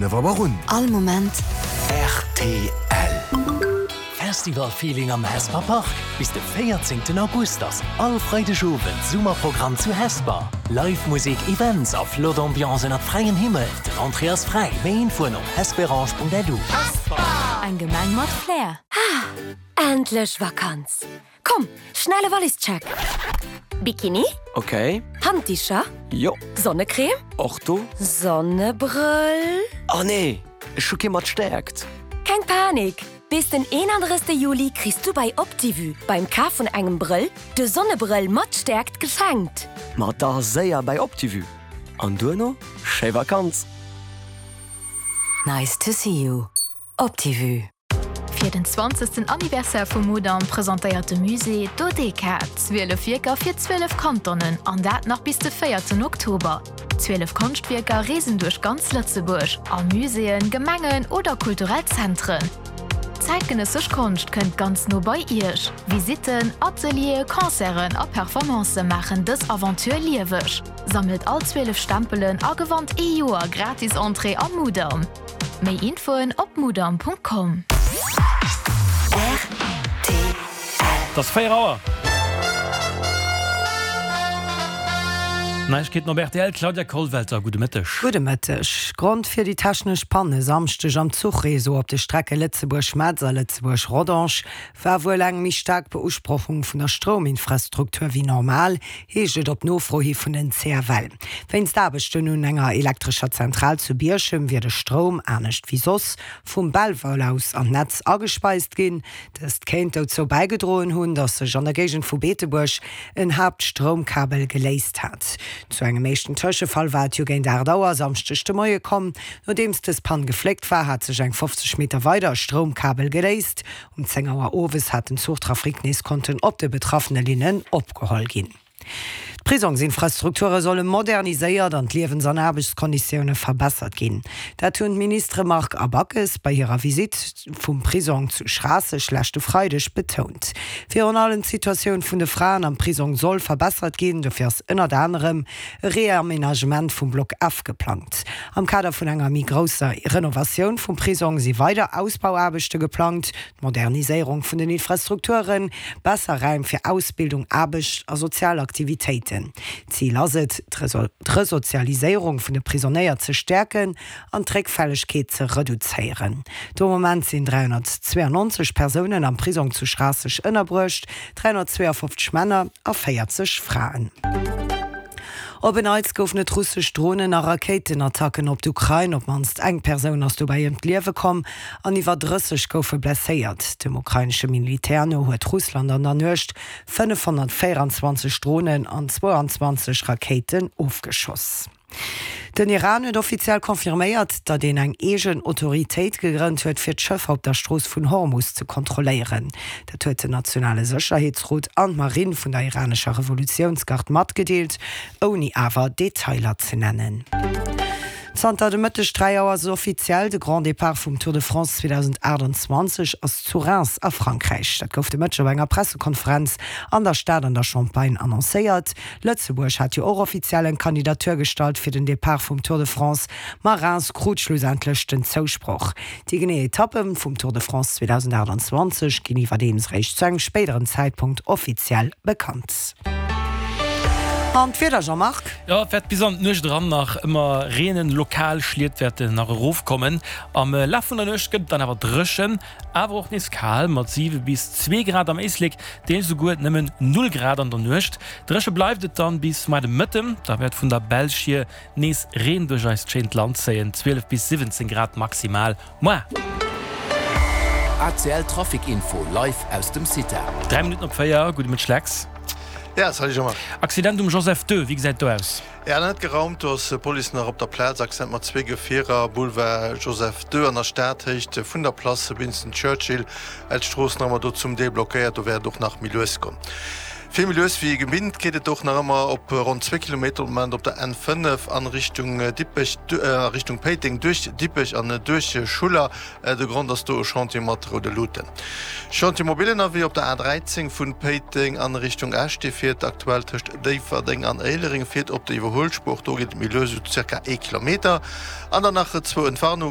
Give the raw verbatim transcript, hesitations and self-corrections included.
Fënnef Auer un. All Moment. Rtl. Festival-Feeling am Hesper Park, Bis de véierzéngten August ass all Freideg Owend Summerprogramm zu Hesper. Live Musek, Events a flott Ambiance ënnert fräiem Himmel. Den Entrée ass fräi. Méi Infoen op hesperange.lu. Eng Gemeng mat Flair. Endlech Vakanz! Komm, schnelle Wallischeck! Bikini? Ok. Handdicher? Jo. Sonnecreme? Och do. Sonnebrëll? Oh nee, ech hu kee mat Stäerkt. Keng Panik! Bis den eenandrëssigste Juli kriss du bei Optivue beim Kaf vun engem Brëll de Sonnebrëll mat Stäerkt geschenkt. Ma da séier bei Optivue. An duerno schéi Vakanz! Nice to see you. Optivue. Fir den zwanzegsten Anniversaire vum Mudam presentéiert de Musée Dodeka, zwielef Wierker fir zwielef Kantonen, an dat nach bis de véierten Oktober. Zwielef Konschtwierker reesen duerch ganz Lëtzebuerg, a Muséeën, Gemengen oder kulturell Zentren. Zäitgenëssesch Konscht kënnt ganz no bei Iech. Visitten, Atelieren, Concerten a Performancë maachen dës Aventure lieweg. Sammelt all zwielef Stempelen a gewannt ee Joer gratis Entrée am Mudam. Méi Infoen op mudam.com. Et ass véier Auer. Neiegkeeten op rtl, Claudia Kollwelter, gudde Mëtteg. Gudde Mëtteg. Grond fir déi technesch Pann e Samschdeg am Zuchreseau op de Strecke Lëtzebuerg-Metz a Lëtzebuerg-Rodange war wuel eng méi staark Beusprochung vun der Strouminfrastruktur wéi normal, heescht et op Nofro hi vun den C F L. Wéinst Aarbechten un enger elektrescher Zentral zu Bierchem wier de Stroum, anescht wéi soss, vum Belval aus an d'Netz agespeist ginn. Dëst kéint dozou bäigedroen hunn, datt sech an der Géigend vu Beetebuerg en Haaptstroumkabel geléist hat. Zu engem éischten Tëschefall war et jo géint aacht Auer Samschdeg de Moie komm. Nodeems dës Pann gefléckt war, hat sech eng fofzeg Meter weider e Stroumkabel geléist. Um zéng Auer owes hat den Zuchtrafic nees konnten op de betraffene Linnen opgeholl ginn. D'Prisongsinfrastrukture solle moderniséiert an d'Liewens an Aarbechtskonditioune verbessert ginn. Dat hunn d'Ministere Margue a Backes bei hirer Visitt vum Prisong zu Schraasseg leschte Freideg betount. Virun allem d'Situatioun vun de Fraen am Prisong soll verbessert ginn, dofir ass ënnert anerem e Reamenagement vum Block F geplangt. Am Kader vun enger méi grousser Renovatioun vum Prisong si weider Ausbauaarbechte geplangt, d'Moderniséierung vun den Infrastrukturen, besser Raim fir Ausbildung, Aarbecht a sozial Aktivitéiten. Zil ass et, d'Resozialiséierung vun de Prisonéier ze stäerken an d'Réckfällegkeet ze reduzéieren. De Moment sinn dräihonnertzweeanonzeg Persounen am Prisong zu Schraasseg ënnerbruecht, dräihonnertzweeafofzeg Männer a véierzeg Fraen. Op en Neits goufen et russesch Dronen a Rakéitenattacken op d'Ukrain. Op d'mannst eng Persoun ass dobäi ëm d'Liewe komm an iwwer drësseg goufe blesséiert. Dem ukrainesche Militär no huet Russland an der Nuecht fënnefhonnertvéieranzwanzeg Dronen an zwouanzwanzeg Rakéiten ofgeschoss. Den Iran huet offiziell confirméiert, datt een eng eegen Autoritéit gegrënnt huet, fir d'Schëffer op der Strooss vun Hormus ze kontrolléieren. Dat huet den nationale Sécherheetsrot an d'Marinn vun der iranescher Revolutiounsgard matgedeelt, ouni awer Detailer ze nennen. Zanter de Mëtteg dräi Auer ass et offiziell, De Grand Départ vum Tour de France zweedausendaachtanzwanzeg ass zu Reims a Frankräich. Dat gouf de Mëtteg op enger Pressekonferenz an der Stad an der Champagne annoncéiert. Lëtzebuerg hat jo och offiziell eng Kandidatur gestallt fir den Depart vum Tour de France, ma Reims krut schlussendlech den Zousproch. Déi genee Etappe vum Tour de France zweedausendaachtanzwanzeg ginn iwwerdeems réischt zu engem spéideren Zäitpunkt offiziell bekannt. An d'Wieder, Jean-Marc? Jo, et wäert bis an d'Nuecht eran nach ëmmer reenen, lokal Schliet wäerten nach erofkommen. Am Laf vun der Nuecht gëtt et dann awer dréchen, awer och nees kal mat siwe bis zwee Grad am Éislek, deels esouguer nëmmen null Grad an der Nuecht. Dréche bleift et dann bis muer de Mëtten, da wäert vun der Belsch hier nees Reen duerch eist schéint Land zéien, zwielef bis siwwenzéng Grad maximal muer. A C L Trafic Info live aus dem CITA. Dräi Minutten op véier, gudde Mëtteg Lex. Ja, salut Jean-Marc. Accident um Joseph Deux, wéi gesäit do aus? Ja, net geraumt, do ass d'Police nach op der Plaz. Accident mat zwee Gefierer, Boulevard Joseph Deux an der Stad, Héicht vun der Place Winston Churchill. D'Strooss nach ëmmer do zum Deel blockéiert, do wäert et och nach méi lues goen. Vill méi lues wéi gewinnt geet et och nach ëmmer op ronn zwee Kilometer um Moment op der N fënnef an Richtung Dippech, a Richtung Péiteng duerch Dippech an duerch Schuller. De Grond ass do e Chantier mat roude Luuten. Chantier mobile ënnerwee op der A dräizéng vun Péiteng an Richtung Esch. Dee fiert aktuell tëscht Déifferdeng an Éilereng, fiert op der Iwwerhuelspuer. Och do geet et méi lues, esou zirka ee Kilometer. An dann nach zwou Entwarnungen.